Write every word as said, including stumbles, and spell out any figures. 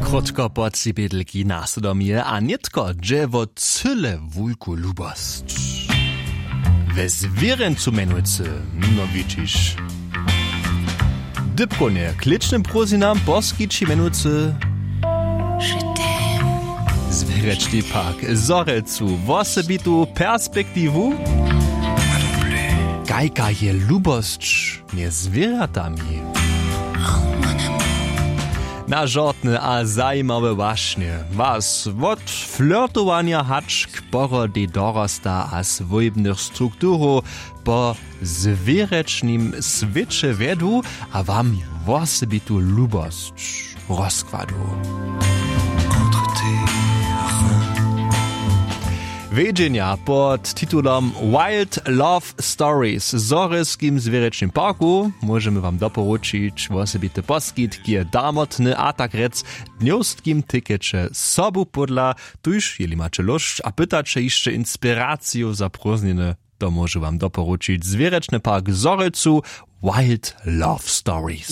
Krótko po tři bědlki naslědom je a nětko dźe wo cyle wulku lubosć. We zwěrjencu mjenujcy, no widźiš. Dypkownje klěčnym prózdninam poskići mjenujcy zwěrječny park w zhorjelcu wosebitu perspektiwu. Kajka je lubosć mjez zwěrjatami? Na žortne a zajimawe wašnje was wot flirtowanja hač k porodej dorosta a swójbnych strukturow po zwěrječnym swěće wjedu a wam wosebitu lubosć rozkładu. Wjedźenja pod titulom Wild Love Stories w zhorjelskim zwěrječnym parku móžemy wam doporučić wosebity poskitk je damotny a tak rjec w dnjowskim tikeće sobu pódla. Tuž jeli maće lóšć a pytaće hišće inspiraciju za prózdniny, to móžu wam doporučić zwěrječny park w zhorjelcu. Wild Love Stories.